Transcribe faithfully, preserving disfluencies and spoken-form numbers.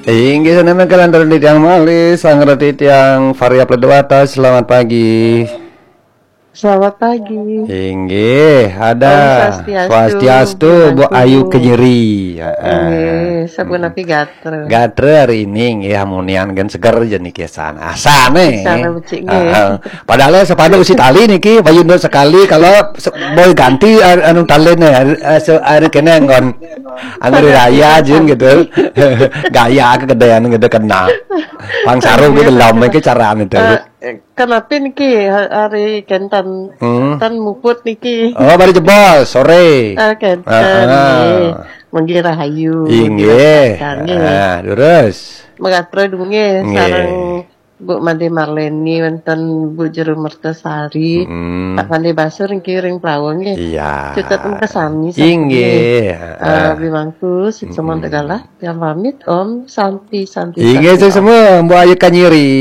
Inggih, sané mangke lanturun titiang malih, sareng titiang Fahri Upload Dewata, selamat pagi. Selamat pagi. Inggih, ada. Om Swastiastu, Swastiastu, Bu Bangku. Ayu Kejeri. Heeh. Inggih, sapunapi gatra? Gatra hari ini nggih, amunian kan seger aja niki, asan. Asane. Asane becik nggih. Heeh. Padahal sepatu usi tali niki, bayun sekali kalau se- boy ganti an- anu taline, eh, se- anu kene nggon. Anggur raya jin gitu. Gaya kegedean gitu kena. Pang saru gitu lom iki carane itu. Eh, Kenapa niki ha- hari kenten Hmm. ten muput niki? Oh, baru jebol sore. Ah, kenten Ah, ah. Nggih. Manggi rahayu. Inggih. Kang, nggih. Ah, terus. Megatra dunggih Nggih. Sareng Bu Made Marleni wonten Bu Jero Mertasari. Hmm. Tak pandai basur niki ring plawa nggih. Iya. Cutet mekesami Inggih. Eh, bimangku sik semon tegalah yang pamit Om Santi Santi. Inggih, Santi, sing semua Mbok Ayu Kanyiri.